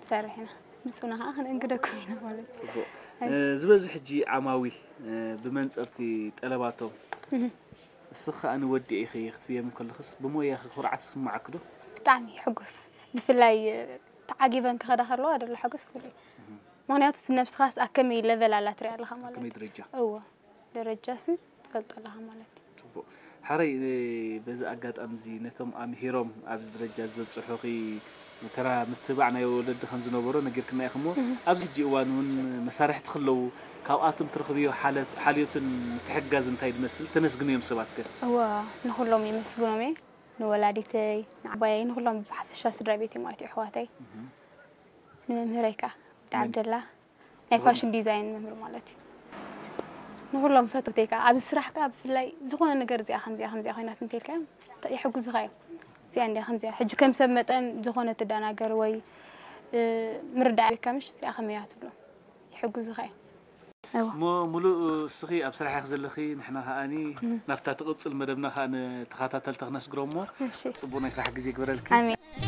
ሰርሕ ኢና። ብፁና ከዓ ክንእንግደኩም ኢና ማለት እዩ። ፅቡቅ። ዝበዝሕ ሕጂ ዓማዊል ብመንፀርቲ ጠለባቶም እስኺ ከኣ ንወዲ ኢኺ ክትብዮም ከለኽስ ብሞያኺ ኩርዓት ይስምዓኪ ዶ? ብጣዕሚ ይሕጎስ። ብፍላይ ተዓጊበን ክኸዳ ከለዋ ዘሎ ሓጎስ ፍሉይ። ምክንያቱ ነብስኻስ ኣብ ከመይ ለቨል ኣላ ትሪኣ ኣለኻ ማለት ከመይ እዩ። ደረጃ? እወ ደረጃ ሱ ትፈልጦ ኣለኻ ማለት እዩ። ፅቡቅ። ሓረይ በዚ ኣጋጣሚ እዚ ነቶም ኣምሂሮም ኣብዚ ደረጃ ዘብፅሑኺ ተራ ምትባዕ ናይ ወለዲ ከም ዝነበሮ ነጊርክና ኢኺ እሞ ኣብዚ ሕጂ እዋን እውን መሳርሕቲ ክለዉ ካብኣቶም ትረኽብዮ ሓለ- ሓልዮትን ምትሕግጋዝ እንታይ ዝመስል? ተመስግንዮም ሰባት ከ? እወ ንኩሎም የመስግኖም እየ። ንወላዲተይ፣ ንዓባየይ፣ ንኩሎም ብሓፈሻ ስድራ ቤተይ ማለት እዩ ኣሕዋተይ። ንመምህረይ ከዓ ወዲ ዓብደላ ናይ ፋሽን ዲዛይን መምህር ማለት እዩ። ንኩሎም ፈተውተይ ከዓ ኣብዚ ስራሕ ከዓ ብፍላይ ዝኾነ ነገር እዚኣ ከምዚኣ ከምዚኣ ኮይናት እንተልካዮም ይሕግዙኻ እዮም። እዚኣ እንዲያ ከምዚኣ ሕጂ ከም ሰብ መጠን ዝኾነ ትደናገር ወይ ምርዳእ የብካ ምሽ እዚኣ ከመይ እያ ትብሎ ይሕግዙኻ እዮም። እሞ ሙሉእ እስኺ ኣብ ስራሕ ኢኺ ዘለኺ ንሕና ከኣኒ ናብታ ትቕፅል መደብና ከዓ ንተኸታተልቲ ክነስግሮ እሞ እሺ ፅቡቅ ናይ ስራሕ ግዜ ግበረልኪ። ኣሜን።